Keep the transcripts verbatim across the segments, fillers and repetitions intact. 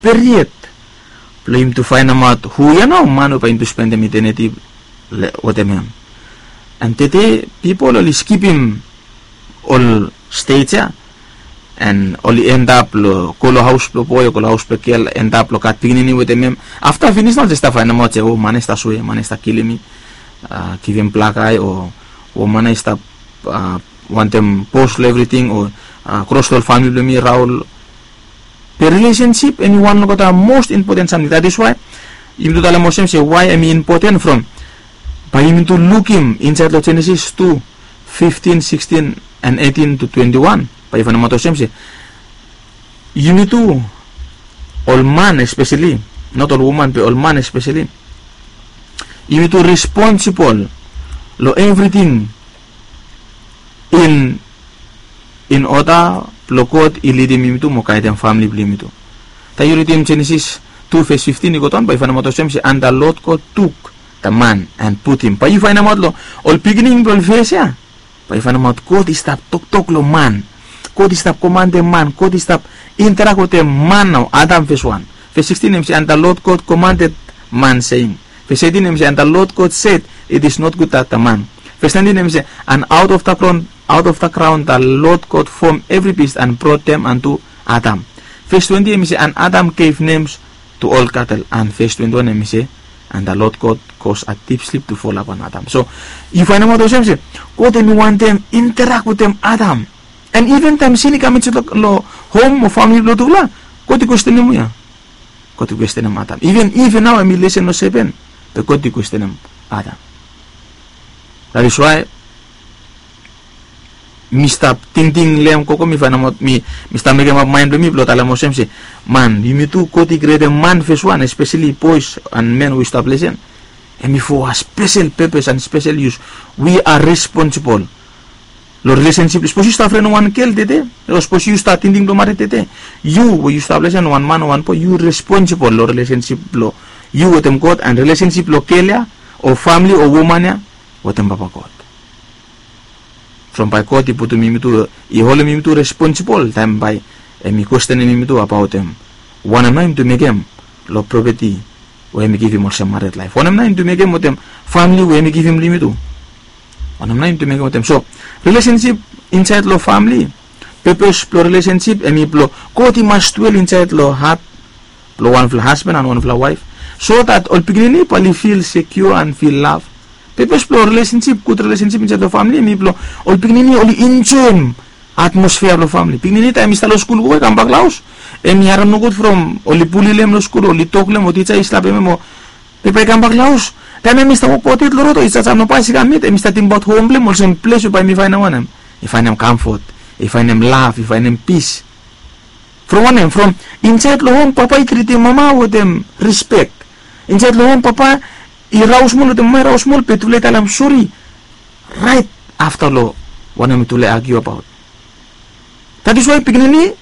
period blong yumi tu faenemaot hu ya nao man we bae yumi tu spendem eternity wetem hem. And tede pipol oli skipim ol stage ya, and oli end up long go long haos blong boe o go long haos blong gel, end up long gat pikinini wetem hem. Afta finis nao oli jes stap faenemaot se o man ya i stap sue, man ya i stap kilim mi, givim blak ae o woman ya i stap wantem pos long evriting o kros long ol famili blong mi raol. Be relationship hemi wan long olgeta most important samting. That is why yumi tu talem olsem se why hemi important from bae yumi tu lukim insaed long Genesis tu, fifteen, sixteen and eighteen to twenty-one. Bae yu faenemaot olsem se yumi tu ol man especially, not ol woman be ol man especially, yumi tu responsible long evriting in in order blong God i lidim yumi tu mo gaedem famili blong yumi tu. Taem yu ridim Genesis tu ves fifteen i go daon, bae yu faenemaot olsem se and the Lord God took the man and put him. Bae yu faenemaot long ol beginning blong ol ves ya, bae yu faenemaot God i stap toktok long man. God i stap komandem man. God i stap interak wetem man nao, Adam ves wan. Ves sixteen hemi se and the Lord God commanded man saying. Ves eighteen hemi se and the Lord God said, it is not good that the man. Ves nineteen hemi se and out of the ground, out of the ground the Lord God formed every beast and brought them unto Adam. Ves twenty hemi se and Adam gave names to all cattle. And ves twenty-one hemi se and the Lord God caused a deep sleep to fall upon Adam. So yu faenemaot olsem se God hemi wantem interak wetem Adam. And even taem sin i kam insaed long hom o famili blong tufala, God i kwestenem hu ya? God i kwestenem Adam. Even Iv nao hemi lesen long sepen, be God i kwestenem Adam. That is why mi stap tingting long hem gogo, mi faenemaot, mi mi stap mekemap maen blong mi blong talem olsem se man, yumi tu God i krietem man ves wan, especially boys and men we yu stap lesen, hemi for a special purpose and special use. We are responsible long relationship. Sapos yu stap fren wan gel tede, o sapos yu stap tingting blong mared tede, yu we yu stap lesen, wan man o wan boe, yu responsible long relationship blong yu wetem God and relationship blong gel ya o famili o woman ya wetem Papa God. From bae God i putum yumi tu, i holem yumi tu responsible taem bae hemi kwestenem yumi tu abaot hem wanem nao yumi tu mekem long property we hemi givim olsem mared laef. Wanem nao yumi tu mekem wetem famili we hemi givim long yumi tu. Wanem nao yumi tu mekem wetem. So relationship insaed long famili, purpose blong relationship hemi blong God i mas dwell insaed long hat blong wanfala hasban and wanfala waef, so that ol pikinini bae oli feel secure and feel love. Purpose blong relationship, gud relationship insaed long famili hemi blong ol pikinini oli enjoem atmosphere blong famili. Pikinini taem i stap long skul gogo, i kambak long haos, hemi harem nogud from oli bully long hem long skul, oli tok long hem o tija i slapem hem o, be bae i kambak long haos, taem hemi stap wokbaot yet long rod o i jajam long baes i kam yet, hemi stap tingbaot hom blong hem olsem ples we bae hemi faenem wanem? I faenem comfort, i faenem love, i faenem peace. From wanem? From insaed long hom papa i tritem mama wetem respek. Insaed long hom papa i raos moa wetem mama, i raos moa, be tufala i talem sori raet afta long wanem tufala i argue abaot. That is why pikinini,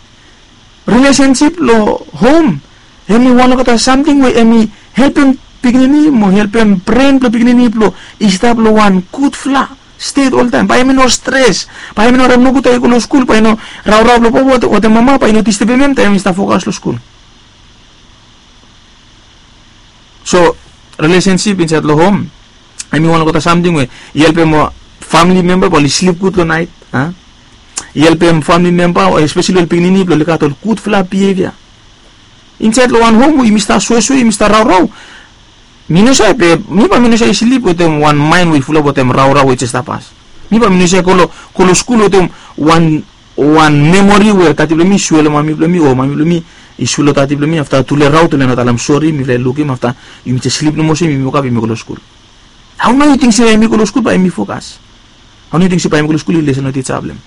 relationship long hom hemi wan olgeta samting we hemi helpem pikinini mo helpem bren blong pikinini blong i stap long wan gudfala stet oltaem. Bae hemi no stres, bae hemi no harem nogud taem i go long skul, bae i no raorao blong papa wetem mama bae i no distebem hem taem i stap fokas long skul. So relationship insaed long hom hemi wan olgeta samting we i helpem famili memba blong oli slip gud long naet. I helpem famili memba o especially ol pikinini blong oli gat ol gudfala behavior. Insaed long wan hom we yumi stap suesue, yumi stap raorao, mi no save, mi bae mi no save slip wetem wan maen we i fulap wetem raorao we i jes stap pas. Mi bae mi no save go long, go long skul wetem wan, wan memori we dadi blong mi i sue long mami blong mi o mami blong mi i sue long dadi blong mi, afta tufala i raot, tufala i no talem sori, mifala i lukim, afta yumi jes slip nomo olsem, yumi wokap, yumi go long skul. Hao nao yu ting se bae yumi go long skul bae yumi fokas? Hao nao yu ting se bae yumi go long skul, yu lesen long tija blong hem?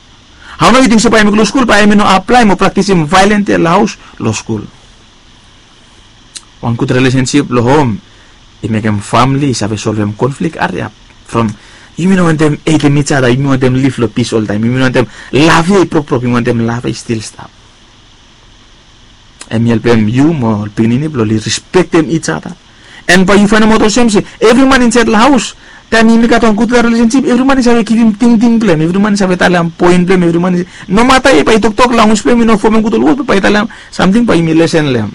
Hao nao yu ting se bae yumi go long skul bae yumi no aplaem o praktisim vaeolens ya long haos, long skul? Wan gud relationship long hom i mekem famili i save solvem konflik hariap. From yumi no wantem hetem each other, yumi wantem liv long pis oltaem, yumi no wantem love ya i brokbrok, yumi wantem love ya i stil stap. Hemi helpem yu mo ol pikinini blong oli respektem each other. And bae yu faenemaot olsem se evri man insaed long haos, taem yumi gat wan gudfala relationship, evri man i save givim tingting blong hem, evri man i save talem poen blong hem, evri man i, nomata yet bae i toktok, lanwis blong hem i no fomem gud ol wod, be bae i talem samting, bae yumi lesen long hem.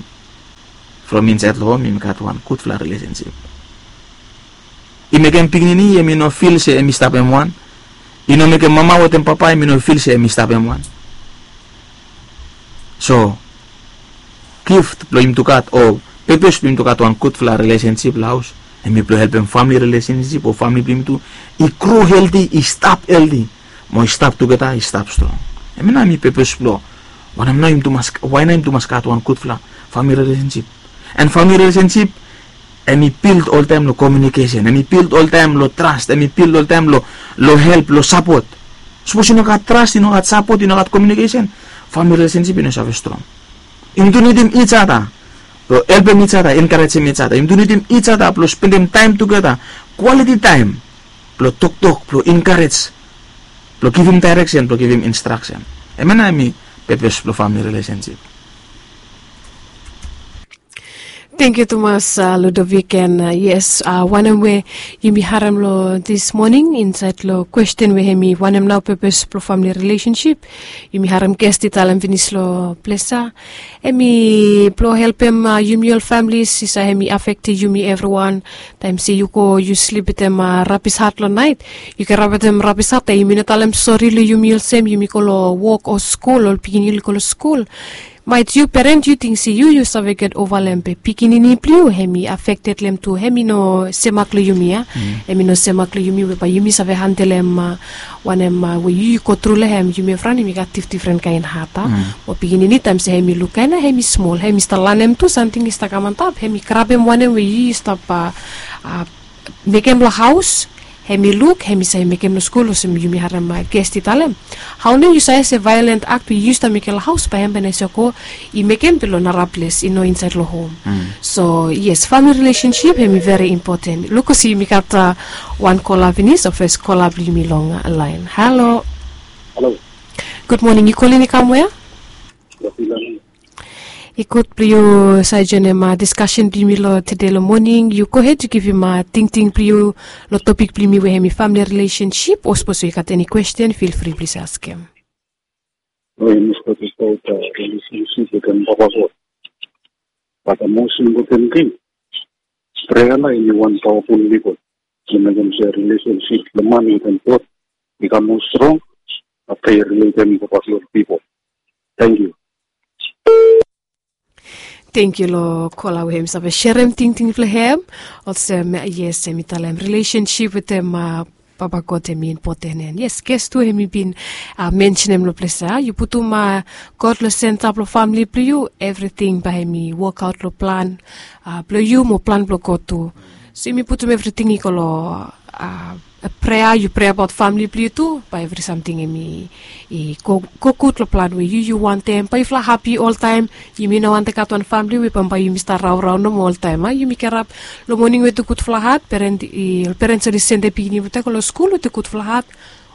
From insaed long hom yumi gat wan gudfala rilesensip. I mekem pikinini yumi no fil se em i stap em wan. I no mekem mama wetem papa yumi no fil se em i stap em wan. So gift blong yumi tu gat o pepes blong yumi tu gat wan gudfala rilesensip long haos, em i blong helpem famili rilesensip o famili blong yumi tu i gro helti, i stap helti, mo i stap tugeta, i stap strong. Em i na em i pepes blong wanem na yumi tu mas wae na yumi tu mas gat wan gudfala famili rilesensip. And famili rilesensip em i bild oltaem long komiunikesen, em i bild oltaem long tras, em i bild oltaem long long help, long sapot. Sapos i no gat tras, i no gat sapot, i no gat komiunikesen, famili rilesensip i no save strong. Yumi tu nidim ijada blong helpem ijada, enkarejem ijada. Yumi tu nidim ijada blong spendem taem tugeta, kwaliti taem, blong toktok, blong enkarej, blong givim daereksen, blong givim instraksen. Em ya na em i pepes blong famili rilesensip. Tangkiu tumas, Ludovik. And yes, wanem we yumi harem long dis moning insaed long kwesten we hem i wanem nao pepes blong famili rilesensip, yumi harem ges i talem finis long ples ya. Hem i blong helpem yumi ol familis i save hem i afektem yumi evriwan. Taem se yu go yu slip wetem rabis hat long naet, yu ken rap wetem rabis hat, taem yumi no talem sori long yumi olsem, yumi go long wok o skul, ol pikinini oli go long skul. Maet yu peren yu ting se yu yu save get ova long hem, be pikinini blong yu hem i afekted long hem tu, hem i no semak long yumi ya. Hem i no semak long yumi we bae yumi save handelem wanem we yu yu gotru long hem. Yumi evriwan yumi gat difdifren kaen hat a. Mo pikinini taem se hem i luk kaen ya hem i smol, hem i stap lanem tu samting i stap kam antap, hem i grabem wanem we yu yu stap mekem long haos, hem i luk, hem i save mekem long skul olsem yumi harem ges i talem. Hao nao yu save se vaeolen akt we yu stap mekem long haos bae hem bae i save go i mekem be long nara ples, i no insaed long hom. So yes, famili rilesensip hem i veri impoten. Luk olsem yumi gat wan kola finis, o fes kola blong yumi long laen. Halo. Gud moning, yu kolin i kam wea? I gud blong yu save joenem diskasen blong yumi long tede long moning. Yu gohed yu givim tingting blong yu long topik blong yumi we hem i famili rilesensip, o sapos yu gat eni kwesten, fil fri blong yu save askem. Oi, mi stap tokbaot rilesensip wetem Papa God. Bat the most important thing, prea nao hem i wan pawaful wepon blong mekem se rilesensip blong man wetem God i kam moa strong afta yu riletem Papa God long pipol. Tangkiu. Tangkiu long kola we hem i save serem tingting blong hem. Olsem yes, hem i talem rilesensip wetem Papa God hem i impoten. And yes, ges tu hem i bin mensenem long ples ya, yu putum God long senta blong famili blong yu, evriting bae hem i wokaot long plan blong yu mo plan blong God tu. So yumi putum evriting i go long prea, yu preabaot famili blong yu tu, bae evri samting hem i i go gud long plan we yu yu wantem. Bae yufala hapi oltaem. Yumi no wantem gat wan famili we bambae yumi stap raorao nomo oltaem a. Yumi kirap long moning wetem gudfala hat, peren i ol peren oli sendem pikinini blong oli go long skul wetem gudfala hat.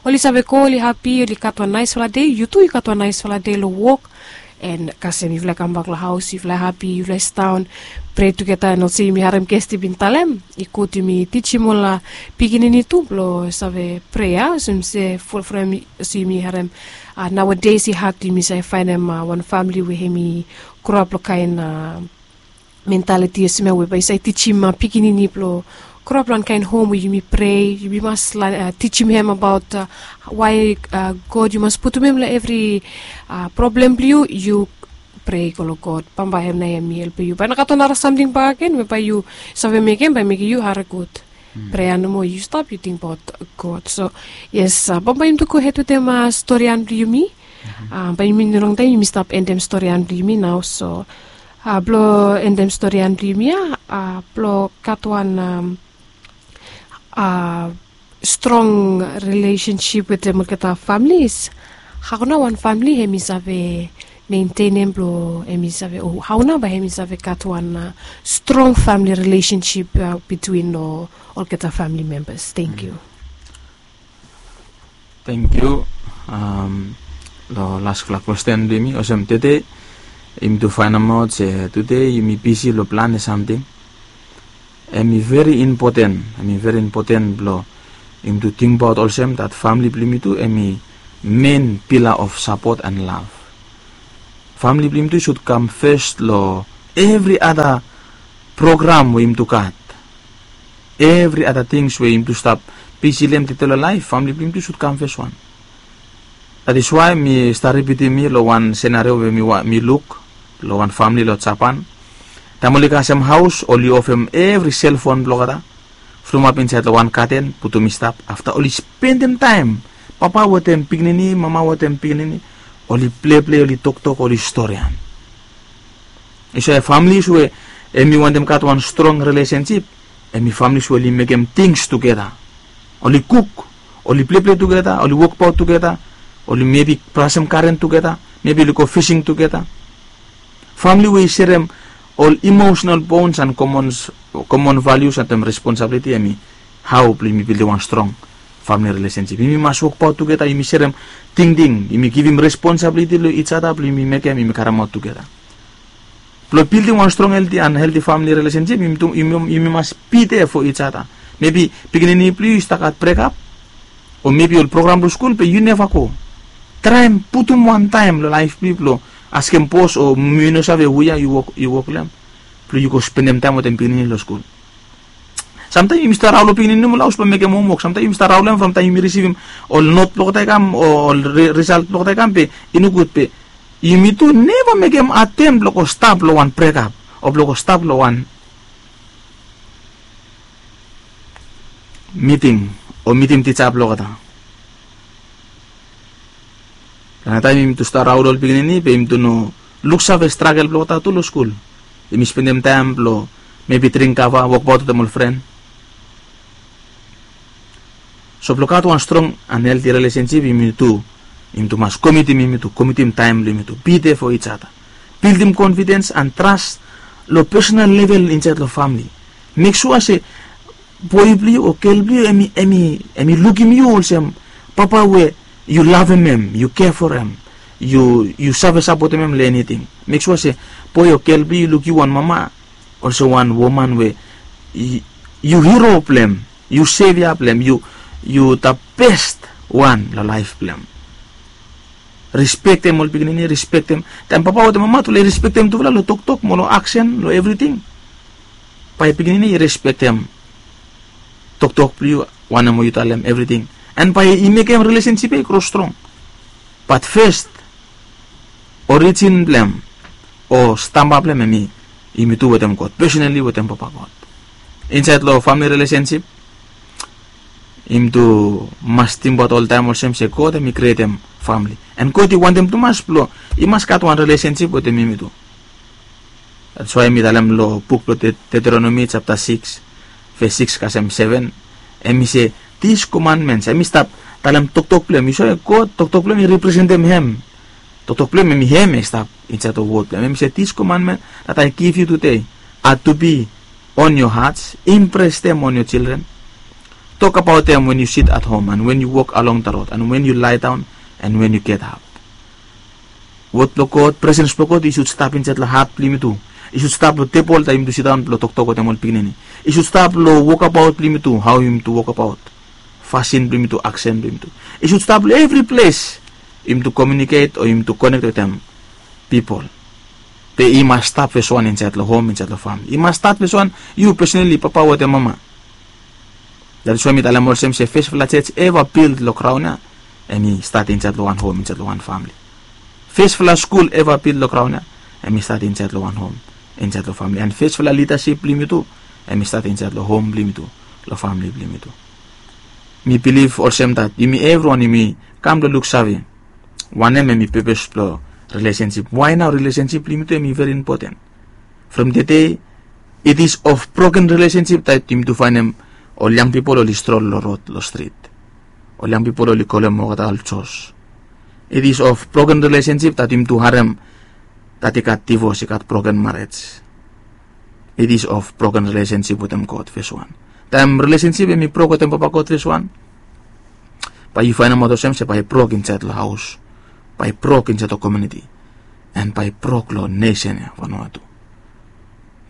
Oli save go, oli hapi, oli gat wan naesfala dei, yu tu yu gat wan naesfala dei long wok. And kasem yufala i kambak long haos, yufala i hapi, yufala i sidaon, prea tugeta. And olsem yumi harem ges i bin talem, i gud yumi tijim ol pikinini tu blong save prea, olsem se from olsem yumi harem nowadays i had yumi save faenem wan famili we hem i groap long kaen mentaliti olsem ya we bae i save tijim pikinini blong groap long wan kaen hom we yumi prea. Yumi mas tijim hem abaot wae God, yu mas putum hem long evri problem blong yu, yu prea go long God. Bambae hem nao hem i helpem yu. Bae i no gat wan nara samting bakegen we bae yu save mekem bae mekem yu harem gud. Prea nomo, yu stap yu tingbaot God. So yes, bambae yumi tu gohed wetem storian blong yumi. Bae yumi no longtaem yumi stap endem storian blong yumi nao. So blong endem storian blong yumi ya, blong gat wan strong rilesensip wetem olgeta familis, hao nao wan famili hem i save mentenem blong hem i save, o hao nao bae hem i save gat wan strong famili rilesensip bitwin long olgeta famili membas? Tangkiu. Tangkiu. Long lasfala kwesten blong yumi, olsem tede yumi tu faenemaot se tede yumi bisi long plante samting. Hem i veri impoten, hem i veri impoten blong yumi tu tingbaot olsem dat famili blong yumi tu hem i men pila of sapot and lav. Famili blong yumi tu i sud kam fes long evri ada program we yumi tu gat. Evri ada tings we yumi tu stap bisi long hem tede long laef, famili blong yumi tu sud kam fes wan. That is why mi stap ripitim mi long wan senario we mi luk long wan famili long Japan. Taem oli kasem haos, oli ofem evri selfon blong olgeta, fulumap insaed long wan gaten, putum i stap. Afta oli spendem taem, papa wetem pikinini, mama wetem pikinini, oli pleplei, oli toktok, oli storian. Yu save, familis we hemi wantem gat wan strong rilesensip, hemi familis we oli mekem tings tugeta. Oli kuk, oli pleplei tugeta, oli wokbaot tugeta, oli mebi brasem garen tugeta, mebi oli go fising tugeta. Famili we i serem ol emotional bonds and common, common values and responsibility, hemi hao blong yumi bildim wan strong famili rilesensip. Yumi mas wokbaot tugeta, yumi serem tingting, yumi givim responsibility long each other blong yumi mekem, yumi karemaot tugeta. Blong bildim wan strong, healthy and healthy family relationship, yumi, yumi, yumi mas be there for each other. Mebi pikinini blong yu i stap gat brekap, o mebi ol program long skul be yu neva go. Traem putum wan taem long laef blong yu blong askem bos o mi no save hu ya yu wok, yu wok long hem, blong yu go spendem taem wetem pikinini long skul. Samtaem yumi stap raon long pikinini nomo long haos blong mekem homwok. Samtaem yumi stap raon long hem from taem yumi risivim ol not blong olgeta i kam o ol ri, risalt blong olgeta i kam, be i nogud be yumi tu neva mekem atem blong go stap long wan brekap o blong go stap long wan miting o mitim tija blong olgeta. Long taem yumi tu stap raon long ol pikinini be yumi tu no luksave stragel blong olgeta tu long skul. Yumi spendem taem blong mebi dring kava, wokbaot wetem ol fren. So blong gat wan strong and healthy relationship, yumi tu, yumi tu mas komitim, yumi tu komitim taem blong yumi tu be there for each other. Bildim confidence and trust long personal level insaed long family. Mek sua se boe blong yu o gel blong yu hemi, hemi, hemi lukim yu olsem papa we yu lavem hem, yu care for hem, yu, yu save sapotem hem long eniting. Mek sua se boe o gel blong yu i luk yu wan mama olsem wan woman we yu, yu hero blong hem, yu sevia blong hem, yu, yu the best wan long laef blong hem. Respektem ol pikinini, respektem. Taem papa wetem mama tu, oli respektem tufala long toktok mo long aksen, long evriting, bae pikinini i respektem toktok blong yu, wanem we yu talem, evriting. And bae i mekem relationship ya i gro strong. But first, origin blong hem o stamba blong hem hemi yumi tu wetem God, personally wetem Papa God. Insaed long family relationship, yumi tu mas tingbaot oltaem olsem se God hemi krietem family. And God i wantem tumas blong i mas gat wan relationship wetem yumi tu. That's why mi talem long buk blong Deuteronomy chapter six, verse six kasem seven, hemi se, these commandments, hemi stap talem toktok blong hem. Yu save, God, toktok blong hem i representem hem. Toktok blong hem hemi hem i stap insaed long wod blong hem. Hemi se, these commandments that I give you today are to be on your hearts, impress them on your children. Tokbaot hem when you sit at home and when you walk along the road and when you lie down and when you get up. Wod blong God, presens blong God i sud stap insaed long hat blong yumi tu. I sud stap long tebol taem yumi tu sidaon blong toktok wetem ol pikinini. I sud stap long wokabaot blong yumi tu, hao yumi tu wokabaot, fasin blong yumi tu, aksen blong yumi tu. I sud stap long evri ples yumi tu communicate o yumi tu connect wetem pipol. Be i mas stat fes wan insaed long hom, insaed long famili. I mas stat fes wan yu personally, papa wetem mama. That is why mi talem olsem se fesfala jos eva bild long graon ya hemi stat insaed long wan hom, insaed long wan famili. Fesfala skul eva bild long graon ya hemi stat insaed long wan hom, insaed long famili. And fesfala lidasip blong yumi tu hemi stat insaed long hom blong yumi tu, long famili blong yumi tu. Mi bilif olsem that yumi evriwan yumi kam blong luksave wanem hemi pepes blong relationship. Why nao relationship blong yumi tu hemi very important. From tede, it is of broken relationship that yumi tu faenem ol yang pipol oli strol long rod, long strit. Ol yang pipol oli kolem olgeta ol jos. It is of broken relationship that yumi tu harem that i gat divos, i gat broken marriage. It is of broken relationship wetem God, fes wan. Taem relationship hemi brok wetem Papa God, fes wan, bae yu faenemaot olsem se bae i brok insaed long haos, bae i brok insaed long komuniti, and bae i brok long nesen ya, Vanuatu.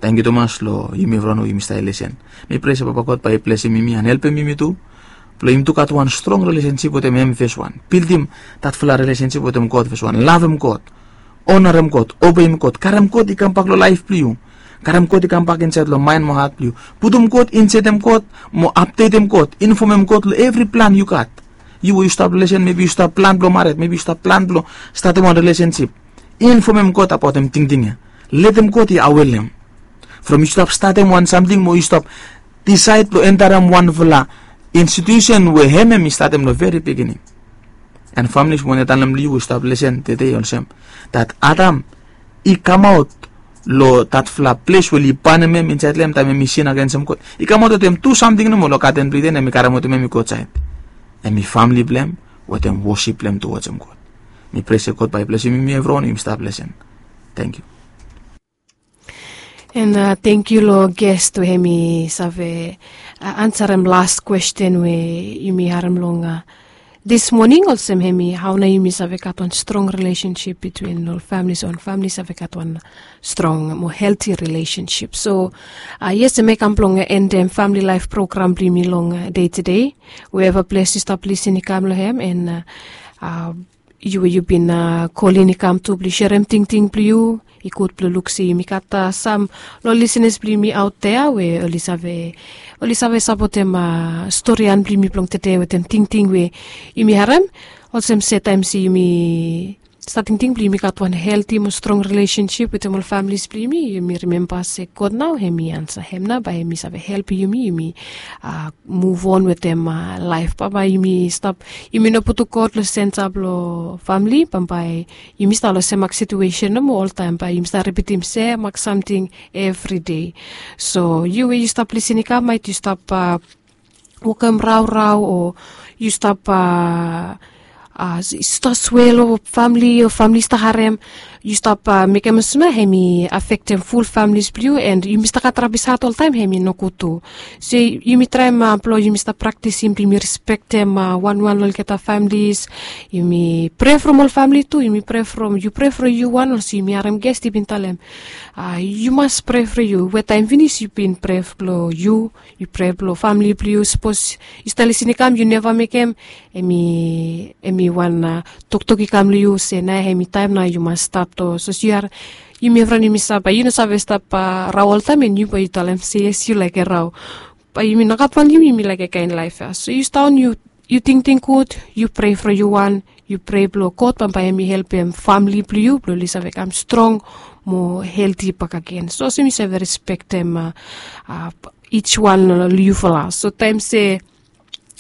Tangkiu tumas long yumi evriwan we yumi stap lisen. Mi prea se Papa God bae i blesem yumi and helpem yumi tu blong yumi tu gat wan strong relationship wetem hem, fes wan. Bildim datfala relationship wetem God, fes wan. Lavem God, onarem God, obeim God, karem God i kambak long laef blong yu. Karem God i kambak insaed long maen mo hat blong yu. Putum God, insetem God, mo apdetem God, infomem God long evri plan yu gat. Yu we yu stap lesen, mebi yu stap plan blong mared, mebi yu stap plan blong statem wan relesensip. Infomem God abaotem tingting ya. Letem God i awe long hem. From yu stap statem wan samting mo yu stap disaed blong entarem wanfala institusen we hem hem i statem long veri beginning. An famili, mi wantem talem long yu we yu stap lesen tede olsem, dat Adam i kamaot long datfala ples we oli banem hem insaed long hem taem hem i sin agensem God. I kamaot wetem tu samting nomo long gaden blong Iden, hem i karemaotem hem i go aotsaed. Hem i famili blong hem wetem wosip blong hem towadsem God. Mi prea se God bae i blesim yumi evriwan we yumi stap lesen. Tangkiu. And uh, thank you long guest we hem i save uh, ansarem last question we yumi harem long uh, this morning, olsem hem i hao nao yumi save gat wan strong relationship between ol families, wan family save gat wan strong mo healthy relationship. So uh, yes, hem i kam blong endem family life program blong yumi long uh, day to day, wherever ples yu stap lisin i kam long hem, and uh, uh, yu we yu bin uh, kolin i kam tu blong yu serem tingting blong yu. I gud blong luk se yumi gat uh, sam long lisenas blong yumi aot dea we oli save oli save sapotem uh, storian blong yumi blong tede wetem tingting we yumi harem. Olsem se taem se yumi stap tingting blong yumi gat wan healthy mo strong relationship wetem ol families blong yumi, yumi rimemba se God nao hem i ansa, hem nao bae hem i save helpem yumi, yumi uh, move on wetem uh, laef. Bambae yumi stap, yumi no putum God long sensa blong famili, bambae yumi stap long semak situesen nomo oltaem, bae yumi stap ripitim semak samting evri dei. So yu we yu stap lisin i kam, maet yu stap uh, wokem raorao o yu stap uh, uh, stap swe long famili o famili stap harem, yu stap uh, mekem olsem nao hem i afektem ful families blong yu, and yumi stap gat rabis hat oltaem, hem i nogud tu. So yumi traem uh, blong yumi stap praktisim blong yumi respektem uh, wanwan long olgeta families. Yumi prea from ol famili tu, yumi prea from, yu prea from yu wan, olsem yumi harem guest i bin talem uh, yu mas prea from yu, we taem finis yu bin prea blong yu, yu prea blong famili blong yu. Sapos yu stap lisin i kam, yu neva mekem, hem i hem i wan uh, toktok i kam long yu se nao hem i taem nao yu mas stat. O sapos yu are, yumi evriwan yumi save, yu no save stap uh, rao oltaem, and yu bae yu talem se yes, yu laik rao. Bae yumi no gat wan, yumi yumi laik kaen laef ya. So yu stat, yu yu tingting gud, yu prea from yu wan, yu prea blong God bambae hem i helpem famili blong yu blong oli save kam strong mo healthy bakegen. So olsem yu save respektem uh, uh, each wan long yufala. So taem se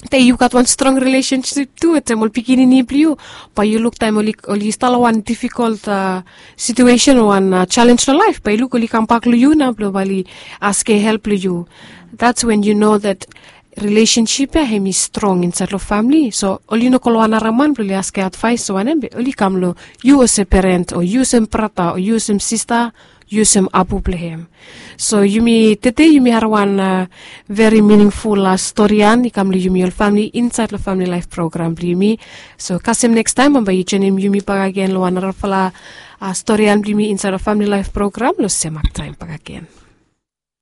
te yu gat wan strong relationship tu wetem ol pikinini blong yu, bae yu luk taem oli oli stap long wan difficult uh, situation, wan uh, challenge long laef, bae yu luk oli kambak long yu nao blong bae oli askem help long yu. That's when you know that relationship ya hem i strong insaed long famili. So oli no go long wan nara man blong oli askem advaes o wanem, be oli kam long yu olsem peren o yu olsem brata o yu olsem sista, yu olsem apu blong hem. So yumi tede yumi harem wan uh, veri miningful uh, storian i kam long yumi ol famili insaed long famili laef program blong yumi. So kasem nekstaem bambae yu joenem yumi bakegen long wan narafala uh, storian blong yumi insaed long famili laef program long semak taem bakegen.